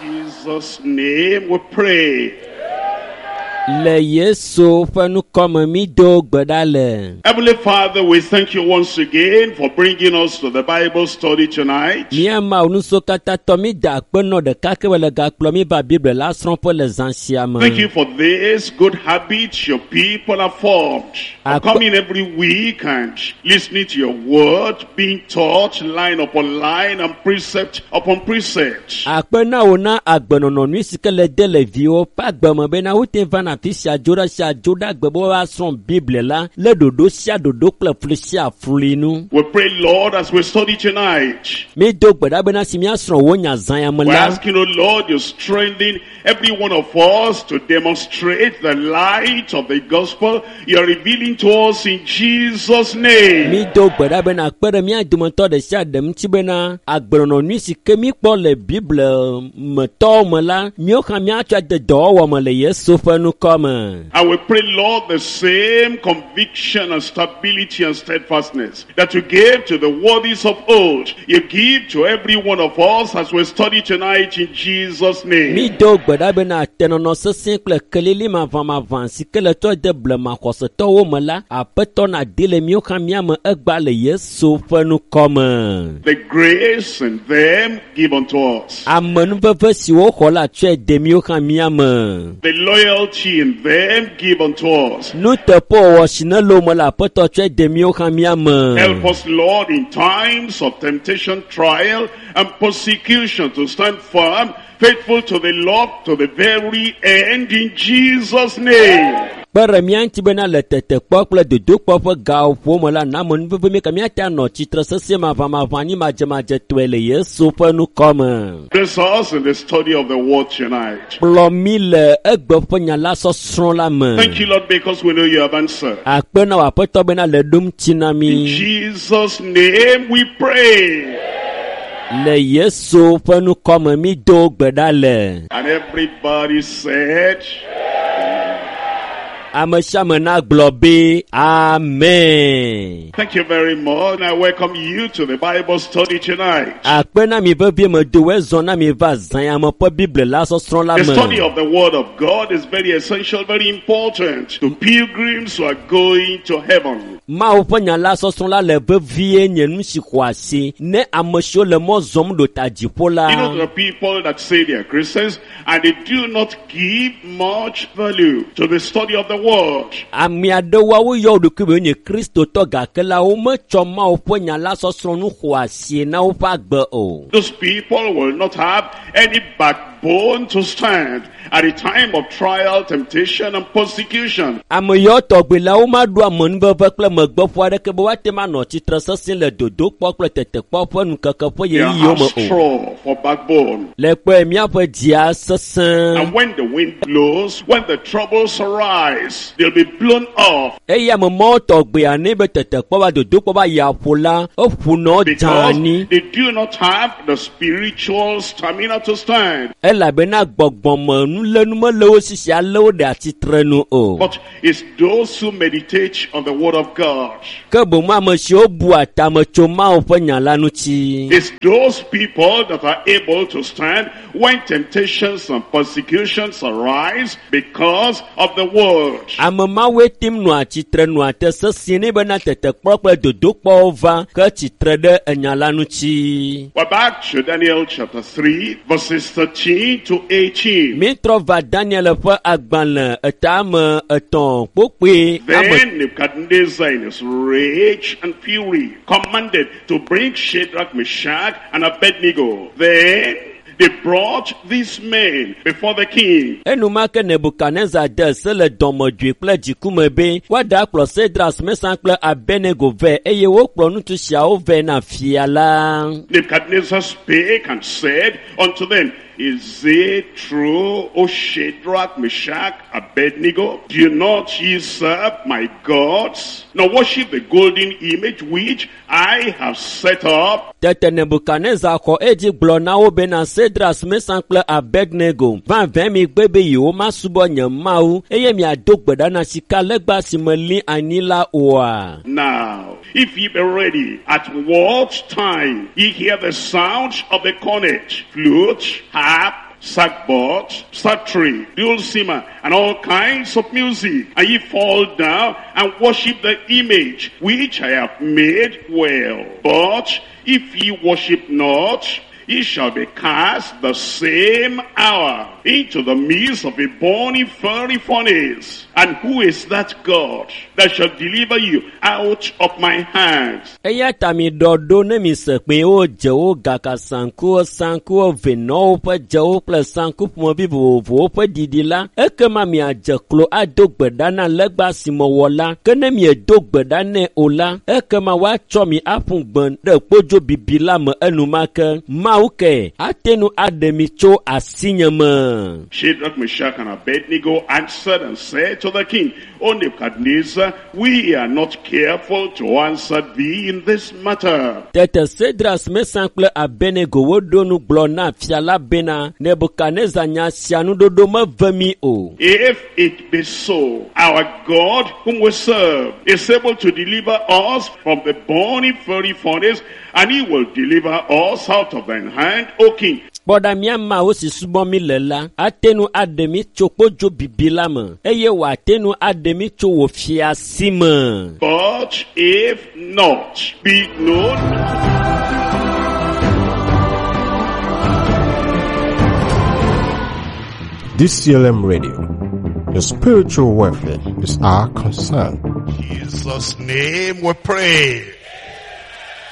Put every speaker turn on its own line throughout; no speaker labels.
Jesus' name we pray.
Le Yesu ƒe ŋkɔme mi do gbe ɖa le.
Heavenly Father, we thank you once again for bringing us to the Bible study tonight.
Mía Mawu nusɔkatatɔ mi da akpe nɔ ɖeka ke le gakplɔ mi va Biblia la srɔ̃ƒe le zã sia me.
Thank you for this good habit your people have formed. Of coming every week and listening to your word, being taught line upon line and precept upon precept.
Akpe na wò na agbenɔnɔ nyui si ke le de le viwo ƒe agbe me bena wote vana afi sia dzo ɖe sia dzo ɖe agbe be woasrɔ̃ Biblia la le ɖoɖo sia ɖoɖo kple fli sia fli nu.
We pray, Lord, as we study tonight.
Mi do gbe ɖa bena si míasrɔ̃ wò nya zã ya me
We're
la,
asking, O Lord, you strengthen every one of us to demonstrate the light of the gospel you're revealing to us in Jesus' name.
mi do gbe ɖa bena kpe ɖe mía dometɔ ɖe sia ɖe ŋuti bena agbenɔnɔ nyui si ke míkpɔ le Biblia me tɔwo me la, míawo hã míatsɔ ade dɔwɔwɔ me le Yesu ƒe ŋkɔ me.
And we pray, Lord, the same conviction and stability and steadfastness that you gave to the worthies of old, you give to every one of us as we study tonight in Jesus' name.
Mi do gbe ɖa bena tenɔnɔ sesẽ kple kelili maʋamaʋã si ke le trɔ de blema xɔsetɔwo me la, Aƒetɔ nadi le míawo hã mía me egbea le Yesu ƒe ŋkɔ me.
The grace in them give unto us.
Amenuveve si woxɔ la tsɔe de míawo hã mía me.
The loyalty in them give unto us.
Nuteƒewɔwɔ si ne le wo me la, Aƒetɔ tsɔe de míawo hã mía me.
Help us, Lord, in times of temptation, trial, and persecution to stand firm, faithful to the Lord to the very end in Jesus' name.
Kpe ɖe mía ŋuti bena le tetekpɔ kple dodokpɔ ƒe gawo ƒo me la, na amenuveve mí ka míate anɔ tsitre sesĩe maʋamaʋã anyi madzemadzetɔe le Yesu ƒe ŋkɔ me.
Bless us in the study of the word tonight.
Kplɔ mí le egbe ƒe nya la sɔsrɔ̃ la me.
Thank you, Lord, because we know you have answered.
Akpe na wò Aƒetɔ bena le ɖom tsi na
In
mí.
Jesus' name we pray.
Le Yesu ƒe ŋkɔ me mi do gbe ɖa le.
And everybody said,
Ame sia ame nagblɔ be amen.
Thank you very much. And I welcome you to the Bible study tonight.
Akpe na mi vevie me do ezɔ na mi va zã ya me ƒe Biblia la sɔsrɔ̃ la
The study
me.
of the Word of God is very essential, very important to pilgrims who are going to heaven.
Mawu ƒe nya la sɔsrɔ̃ la le vevie nye nu si xɔ asi ne ame siwo le mɔ zɔm ɖo ta dziƒo la.
You know, there are people that say they are Christians and they do not give much value to the study of the Word.
Ame aɖewoa woyɔ wo ɖokui be wonye kristotɔ gake la wometsɔ Mawu ƒe nya la sɔsrɔ̃ nu xɔ asie na woƒe agbe o.
Those people will not have any backbone to stand at the time of trial, temptation, and persecution.
Ame yawo tɔgbi la womaɖo amenuveve kple megbeƒo aɖeke be woate ŋu anɔ tsitre sesĩe le dodokpɔ kple tetekpɔ ƒe nukeke ƒe
They
ɣeyiɣiwo
have
me o.
straw for backbone.
Le kpɔe míaƒe dzia sesẽ
And when the wind blows, when the troubles arise, they'll be blown off
eye ame mawo tɔgbea ne be tetekpɔ va dodokpɔ va yi aƒo la eƒunɔ
because
dzani
they do not have the spiritual stamina to stand.
elabena gbɔgbɔme nulénu mele wo si si alé wo ɖe atsitre nu o.
But it's those who meditate on the word of God.
Ke boŋ ame siwo bua tame tso Mawu ƒe nya la ŋuti.
It's those people that are able to stand when temptations and persecutions arise because of the word.
Ame mawoe tim nɔa tsitre nɔa te sesĩe ne bena tetekpɔ kple dodokpɔwo va ke tsitre ɖe enya la ŋuti.
We're back to Daniel chapter 3, verses 13 to 18.
Mítrɔ va Daniel ƒe agbalẽ etame etɔ̃ kpokpoe ame
Then Nebuchadnezzar in his rage and fury commanded to bring Shadrach, Meshach, and Abednego. Then they brought these men before the king.
Enumake Nebukadnezar de se le dɔmedzoe kple dzikume be woaɖe akplɔ Sedras, Mesan kple Abednego vɛ eye wokplɔ ŋutsu siawo vɛ na fia la.
Nebuchadnezzar spake and said unto them, Is it true, O Shadrach, Meshach, Abednego? Do not ye serve my gods, nor worship the golden image which I have set up?
Tete Nebukadnezar xɔ edzi gblɔ na wo bena Sedras, Mesan kple Abednego vavã mi gbe be yewomasubɔ nye Mawu eye miado gbe ɖa na sikalegba si meli anyi la oa?
Now, if ye be ready, at what time ye hear the sound of the cornet, flute, harp, sackbut, psaltery, dulcimer, and all kinds of music. And ye fall down and worship the image which I have made, well. But if ye worship not, ye shall be cast the same hour into the midst of a burning fiery furnace. And who is that God that shall deliver you out of my hands?
Eya ta mi ɖɔ ɖo ne mi se kpẽwo, dzewo, gaka sankuwo, sankuwo, venɔwo ƒe dzewo kple sanku ƒomevi vovovowo ƒe ɖiɖi la, ekema miadze klo ado gbe ɖa na legba si mewɔ la. Ke ne miedo gbe ɖa nɛ o la, ekema woatsɔ mi aƒu gbe ɖe kpodzo bibi la me enumake. Mawu ke ate ŋu aɖe mi tso asinye me.
Shadrach, Meshach, and Abednego answered and said to the king, O Nebuchadnezzar, we are not careful to answer thee in this matter.
Tete Sedras, Mesan kple Abednego woɖo nu gblɔ na fia la bena, Nebukadnezar nya sia nuɖoɖo meve mi o.
If it be so, our God whom we serve is able to deliver us from the burning fiery furnace, and he will deliver us out of thine hand, O king.
Kpɔ ɖa mía Mawu si subɔm mi le la, ate ŋu aɖe mi tso kpodzo bibi la me eye wòate ŋu aɖe mi tso wò fia si me.
But if not, be it known
DCLM Radio. Your spiritual welfare is our concern.
Jesus' name we pray.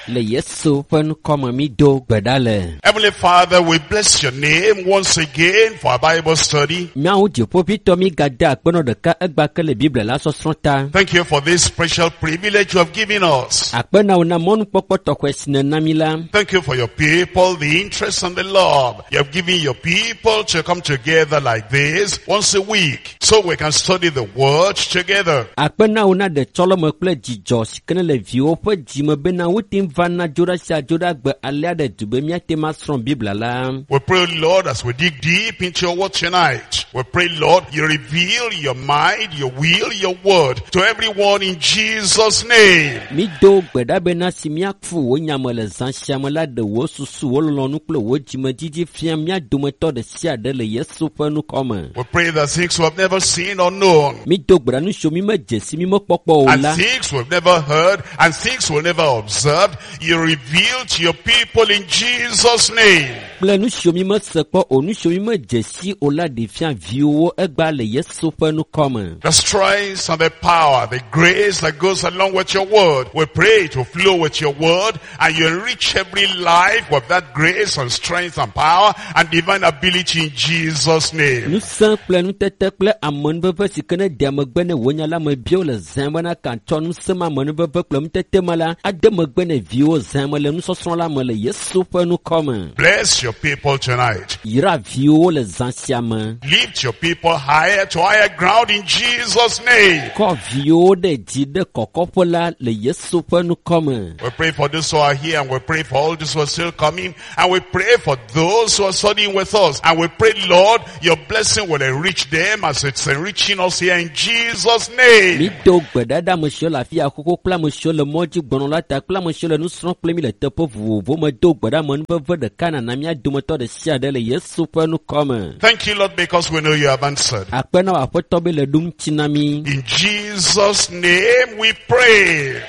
Le Yesu ƒe ŋkɔme mi do gbe ɖa le.
Heavenly Father, we bless your name once again for our Bible study.
Míawo dziƒoʋĩtɔ mi gade akpenɔ ɖeka egba ke le Biblia la sɔsrɔ̃ ta.
Thank you for this special privilege you have given us.
Akpe na wò na mɔnukpɔkpɔ tɔxɛ si nèna mi la.
Thank you for your people, the interest and the love you have given your people to come together like this once a week so we can study the word together.
Akpe na wò na ɖetsɔleme kple dzidzɔ si ke ne le viwo ƒe dzime bena wote ŋu vana dzo ɖa sia dzo ɖa gbe alea ɖe du be míate ŋu asrɔ̃ Biblia la.
We pray, Lord, as we dig deep into your word tonight. We pray, Lord, you reveal your mind, your will, your word to everyone in Jesus' name.
Mi do gbe ɖa bena si míafu wò nyame le zã sia me la ɖe wò susu, wò lɔlɔ̃nu kple wò dzimedzidzi fia mía dometɔ ɖe sia ɖe le Yesu ƒe ŋkɔ me.
We pray that things we have never seen or known,
Mi do gbe ɖa nu siwo mi medze si mi mekpɔkpɔ o
and
la,
things we've never heard, and things we've never observed, you reveal to your people in Jesus' name.
Kple nu siwo mi mese kpɔ o, nu siwo mi medze si o la ɖe fia viwòwo egba le Yesu ƒe ŋkɔ me.
The strength and the power, the grace that goes along with your word. We pray to flow with your word, and you enrich every life with that grace and strength and power and divine ability in Jesus' name.
Ŋusẽ kple nutete kple amenuveve si ke ne dea megbe ne wò nya la me biwo le zã bena katsɔ ŋusẽ ma amenuveve kple nutete ma la ade megbe ne viwo zã me le nusɔsrɔ̃ la me le Yesu ƒe ŋkɔ me.
Bless your people tonight.
Yra viwo le zã sia me.
Lift your people higher to higher ground in Jesus' name.
Kɔ viwo ɖe dzi ɖe kɔkɔƒe la le Yesu ƒe ŋkɔ me.
We pray for those who are here, and we pray for all those who are still coming, and we pray for those who are studying with us, and we pray, Lord, your blessing will enrich them as it's enriching us here in Jesus' name.
Mi do gbe ɖa ɖe ame siwo le afi ya xoxo kple ame siwo le mɔ dzi gbɔnɔ la ta kple ame siwo le nu srɔ̃m kple mi le teƒe vovovowo me do gbe ɖa amenuveve ɖeka nana mía dometɔ ɖe sia ɖe le Yesu ƒe ŋkɔ me.
Thank you, Lord, because we know you have answered.
Akpe na wò Aƒetɔ be le ɖom ŋuti na mi.
In Jesus' name we pray.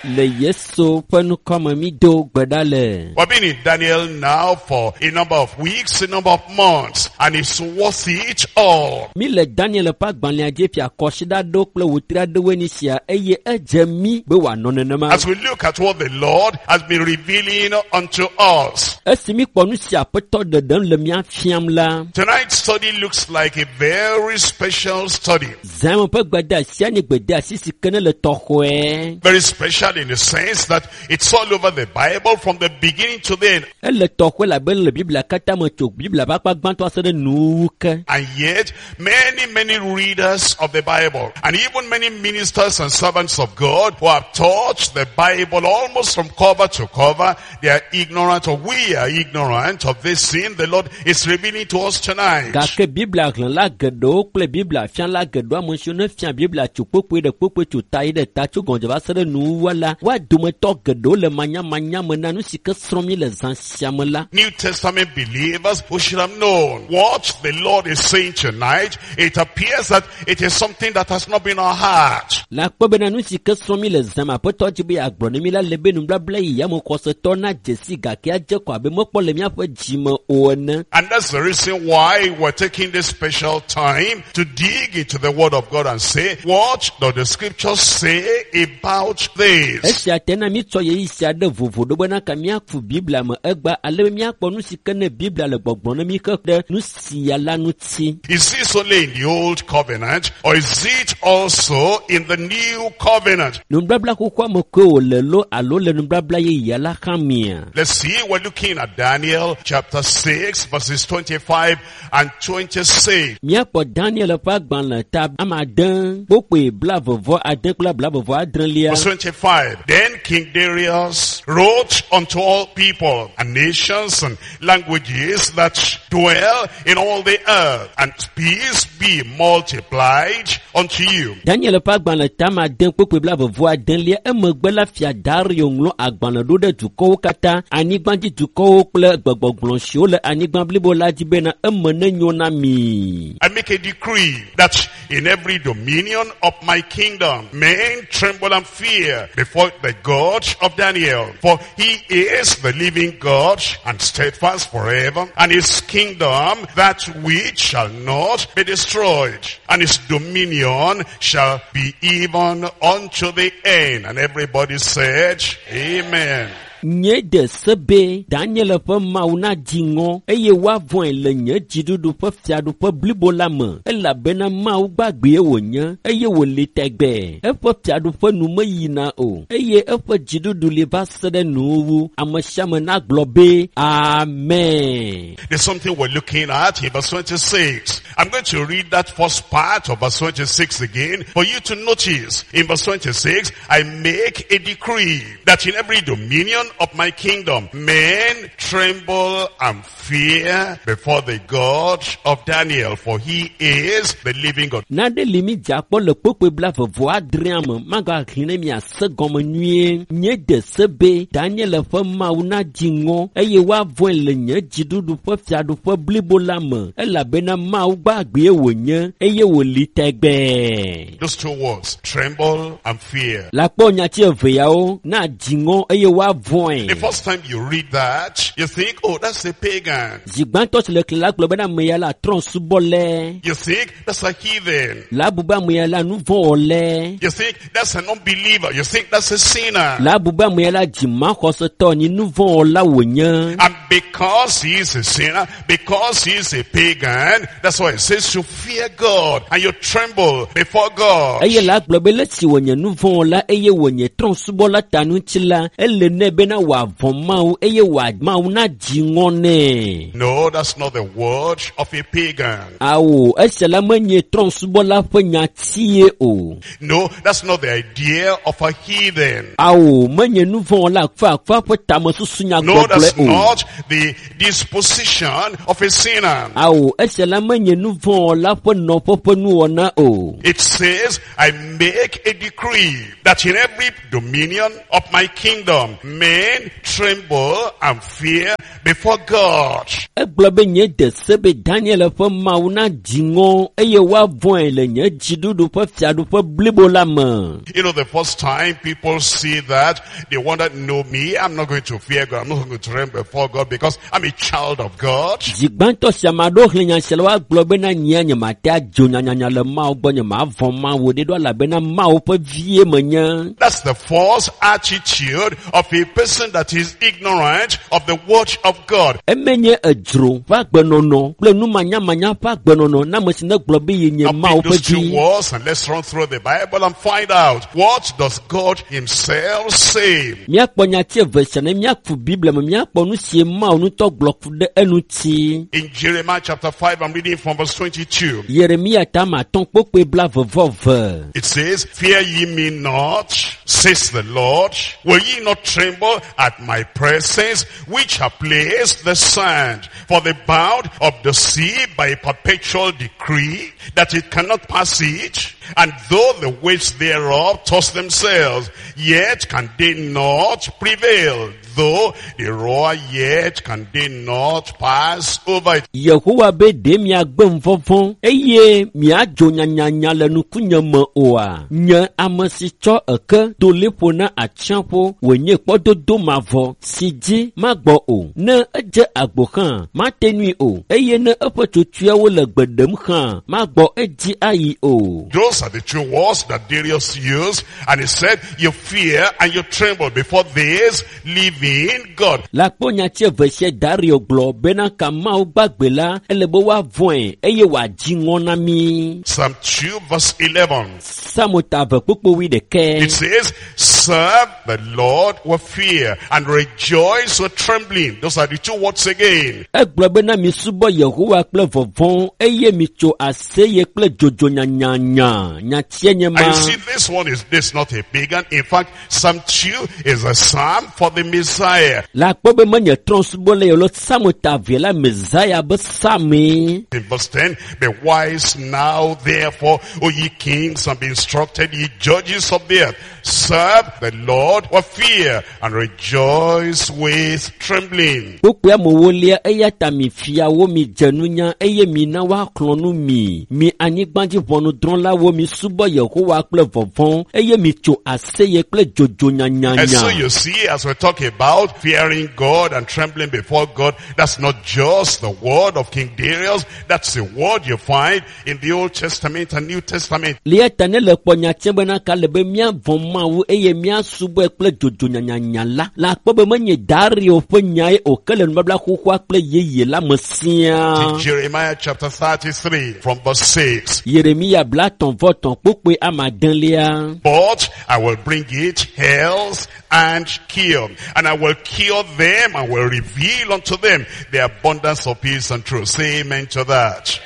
Le Yesu ƒe ŋkɔ me mi do gbe ɖa le.
We've been in Daniel now for a number of weeks, a number of months, and it's worth it all.
Mi le Daniel ƒe agbalẽa dzi fia kɔsiɖa aɖewo kple wòtri aɖewoe nye sia eye edze mi be wòanɔ nenema.
As we look at what the Lord has been revealing unto us.
Esi mi kpɔ nu si Aƒetɔ ɖeɖem le mía fiam la,
Tonight's study looks like a very special study.
zãme ƒe gbedeasia nye gbedeasi si ke ne le tɔxɔe.
Very special in the sense that it's all over the Bible from the beginning to the end.
Ele tɔxɔe labe le Biblia katã me tso Biblia ƒe akpa gbãtɔ ase ɖe nuwuwu ke.
And yet, many, many readers of the Bible, and even many ministers and servants of God who have taught the Bible almost from cover to cover, they are ignorant, or we are ignorant of this sin the Lord is revealing to us tonight.
Gake Biblia xlẽla geɖewo kple Biblia fiala geɖewo ame siwo ne fia Biblia tso kpokpoe ɖe kpokpoe tso ta yi ɖe ta tso gɔmedze va se ɖe nuwuwua la woa dometɔ geɖewo le manyamanya me na nu si ke srɔ̃m mi le zã sia me la.
New Testament believers who should have known what the Lord is saying tonight. It appears that it is something that has not been our heart.
Le akpɔ bena nu si ke srɔ̃m mi le zã me aƒetɔ dzi be yeagblɔ ne mi la le be nubabla yi ya me xɔsetɔ na dzesi gake adze kɔ abe mekpɔ le míaƒe dzime o ene.
And that's the reason why we're taking this special time to dig into the Word of God and say, what does the scripture say about this?
Esia te na mítsɔ ɣeyiɣi sia ɖe vovo ɖo bena ka míaku Biblia me egba ale be míakpɔ nu si ke ne Biblia le gbɔgblɔm ne mí ke ɖe nu sia la ŋuti.
Is this only in the old covenant or is it also in the new covenant?
Nubabla xoxoa me koe wòle lo alo le nubabla yeyea la hã mea?
Let's see, we're looking at Daniel chapter 6 verses 25 and 26.
Míakpɔ Daniel ƒe agbalẽ ta ame ade kpokpoe 26 kple 26.
Verse 25. Then King Darius wrote unto all people and nations and languages that dwell in all the earth, and peace be multiplied unto you.
Daniel ƒe agbalẽ ta ame ade kpokpoe 26 emegbe la fia Dario ŋlɔ agbalẽ ɖo ɖe dukɔwo katã, anyigbadzi dukɔwo kple gbegbɔgblɔ siwo le anyigba blibo la dzi bena eme nenyo na mi.
I make a decree that in every dominion of my kingdom, men tremble and fear before the God of Daniel. For he is the living God and steadfast forever, and his kingdom that which shall not be destroyed, and his dominion shall be even unto the end. And everybody said, Amen.
Nye de se be Daniel ƒe Mawu nadzi ŋɔ eye woavɔ̃e le nye dziɖuɖu ƒe fiaɖuƒe blibo la me elabena Mawu gbagbee wònye eye wòli tɛgbɛ. Eƒe fiaɖuƒe nu meyina o eye eƒe dziɖuɖu li va se ɖe nuwuwu. Ame sia ame nagblɔ be Amen.
There's something we're looking at in verse 26. I'm going to read that first part of verse 26 again for you to notice. In verse 26, I make a decree that in every dominion of my kingdom, men tremble and fear before the God of Daniel, for he is the living God.
Nane li mi dze akpɔ le kpokpoe 26 me magaxlẽ ne miase gɔme nyuie. Nye de se be Daniel ƒe Mawu nadzi ŋɔ eye woavɔ̃e le nye dziɖuɖu ƒe fiaɖuƒe blibo la me elabena Mawu gbagbee wònye eye wòli tɛgbɛɛ.
Those two words, tremble and fear.
Le akpɔ nyati eve yawo nadzi ŋɔ eye woavɔ̃e.
The first time you read that, you think, oh, that's a pagan.
Zi gbãtɔ si le xlẽ la gblɔ bena ame ya la trɔ̃subɔlɛ.
You think that's a heathen.
La bu be ame ya la nuvɔ̃wɔlɛ.
You think that's an unbeliever. You think that's a sinner.
La bu be ame ya la dzimaxɔsetɔ nyi nuvɔ̃wɔla wònye.
And because he is a sinner, because he is a pagan, that's why it says you fear God and you tremble before God.
Eye la gblɔ be le si wònye nuvɔ̃wɔla eye wònye trɔ̃subɔla ta ŋuti la, ele nɛ bena wòavɔ̃ Mawu eye wòa Mawu nadzi ŋɔ nɛ.
No, that's not the word of a pagan.
Awo, esia la menye trɔ̃subɔla ƒe nyatie o.
No, that's not the idea of a heathen.
Awo, menye nuvɔ̃wɔla akfaakfa ƒe tamesusu
No,
nyagbɔgblɔe
that's
o.
not the disposition of a sinner.
Awo, esia la menye nuvɔ̃wɔla ƒe nɔƒe ƒe nuwɔna o.
It says, I make a decree that in every dominion of my kingdom, men tremble and fear before God.
Egblɔ be nye de se be Daniel ƒe Mawu nadzi ŋɔ eye woavɔ̃e le nye dziɖuɖu ƒe fiaɖuƒe blibo la me.
You know, the first time people see that, they wonder, no, me, I'm not going to fear God. I'm not going to tremble before God because I'm a child of God.
Zi gbãtɔ sia ame aɖewo xlẽ nya sia la woagblɔ bena nyea nyemate adzo nyanyanya le Mawu gbɔ nyemavɔ̃ Mawu ɖe ɖo elabena Mawu ƒe vie menye.
That's the false attitude of a person that is ignorant of the word of God.
Emenye edzro ƒe agbenɔnɔ kple numanyamanya ƒe agbenɔnɔ na ame si ne gblɔ be yenye
Now
Mawu
pick
ƒe
those two
vi.
words and let's run through the Bible and find out what does God himself say.
Míakpɔ nyati eve sia ne míaku Biblia me míakpɔ nu si Mawu ŋutɔ gblɔ ku ɖe eŋuti.
In Jeremiah chapter 5, I'm reading from verse 22.
Yeremia ta ame atɔ̃ kpokpoe 22.
It says, Fear ye me not, says the Lord. Will ye not tremble at my presence, which have placed the sand for the bound of the sea by a perpetual decree, that it cannot pass it? And though the waves thereof toss themselves, yet can they not prevail. Though they roar, yet can they not pass over it.
Yehowa be ɖe miagbe vɔvɔ̃ eye miadzo nyanyanya le nukunye me oa? Nye ame si tsɔ eke do liƒo na atsiaƒu wònye kpɔdodo mavɔ si dzi magbɔ o. Ne edze agbo hã, mate nui o eye ne eƒe tsotsoeawo le gbe ɖem hã, magbɔ edzi ayi o.
Those are the two words that Darius used. And he said, you fear and you tremble before this living God.
Le akpɔ nyati eve sia Dario gblɔ bena ka Mawu gbagbe la, ele be woavɔ̃e eye wòadzi ŋɔ na mí.
Psalm 2 verse 11.
Psalm ta eve kpukpui wuiɖekɛ.
It says, serve the Lord with fear and rejoice with trembling. Those are the two words again.
Egblɔ bena misubɔ Yehowa kple vɔvɔ̃ eye mitso aseye kple dzodzo nyanyanya. Nyatia nye
And
ma.
you see, this one is this not a pagan. In fact, Psalm 2 is a psalm for the Messiah.
Le akpɔ be menye trɔ̃subɔla ye o, Psalm ta eve la Messiah be psalmee.
In verse 10, be wise now, therefore, O ye kings, and be instructed, ye judges of the earth. Serve the Lord with fear and rejoice with trembling.
Kpukpui amewolia eya ta mi fiawo mi dze nunya eye mi na woaxlɔ̃ nu mi. Mi anyigbadzi ʋɔnudrɔ̃lawo mi subɔ Yehowa kple vɔvɔ̃ eye mi tso aseye kple dzodzo
And so
nyanyanya.
you see, as we talk about fearing God and trembling before God, that's not just the word of King Darius, that's the word you find in the Old Testament and New Testament.
Le eya ta ne le kpɔ nyatia bena ka le be míavɔ̃ Mawu eye míasubɔe kple dzodzo nyanyanya la, le akpɔ be menye Dario ƒe nyae o ke le nubabla xoxoa kple yeye la me siaa.
In Jeremiah chapter 33 from verse 6.
Yeremia blatɔ̃ vɔ tɔ̃ kpukpui ame adelia.
But I will bring it health and cure. And I will cure them and will reveal unto them the abundance of peace and truth. Say amen to that.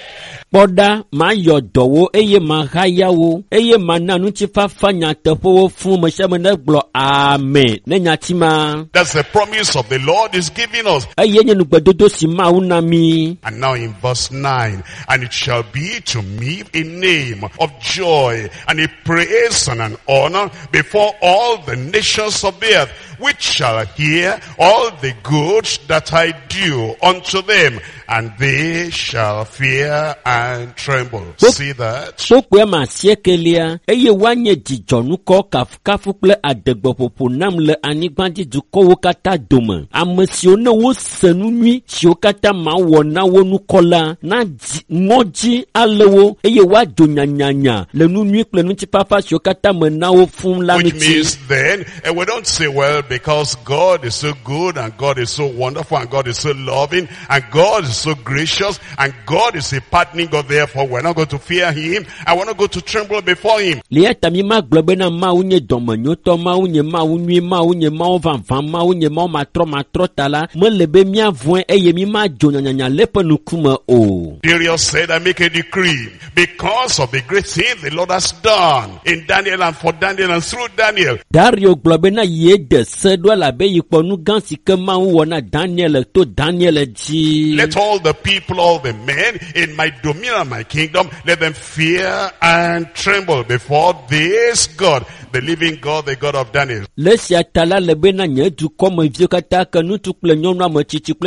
Kpɔ ɖa, mayɔ dɔwo eye mahaya wo eye mana ŋutifafa nyateƒewo fũ ame sia ame negblɔ amen ne nyati ma.
That's the promise of the Lord is giving us.
Eye nye nugbedodo si Mawu na mí.
And now in verse 9, and it shall be to me a name of joy and a praise and an honor before all the nations of the earth, which shall hear all the good that I do unto them, and they shall fear and tremble. See that?
Kpukpui ame asiekelia eye woanye dzidzɔnukɔ kafukafu kple adegbeƒoƒo nam le anyigbadzi dukɔwo katã dome. Ame siwo ne wose nu nyui siwo katã mawɔ na wo nukɔ la, na dzi ŋɔdzi alé wo eye woadzo nyanyanya le nu nyui kple ŋutifafa siwo katã me na wo fũu la
Which
ŋuti.
means then, and we don't say, well, because God is so good and God is so wonderful and God is so loving and God is so gracious and God is a pardoning God, therefore we're not going to fear him and we're not going to tremble before him.
Le eya ta mi magblɔ bena Mawu nye dɔmenyotɔ, Mawu nye Mawu nyui, Mawu nye Mawu vavã, Mawu nye Mawu matrɔmatrɔ ta la, mele be míavɔ̃e eye mi madzo nyanyanya le eƒe ŋkume o.
Darius said, I make a decree because of the great thing the Lord has done in Daniel and for Daniel and through Daniel.
Dario gblɔ bena ye de se ɖo elabe yi kpɔ nu gã si ke Mawu wɔ na Daniel to Daniel dzi.
Let all the people, all the men in my dominion and my kingdom, let them fear and tremble before this God, the living God, the God of Daniel.
Le esia ta la le bena nye dukɔmeviwo katã ke ŋutsu kple nyɔnu, ame tsitsi kple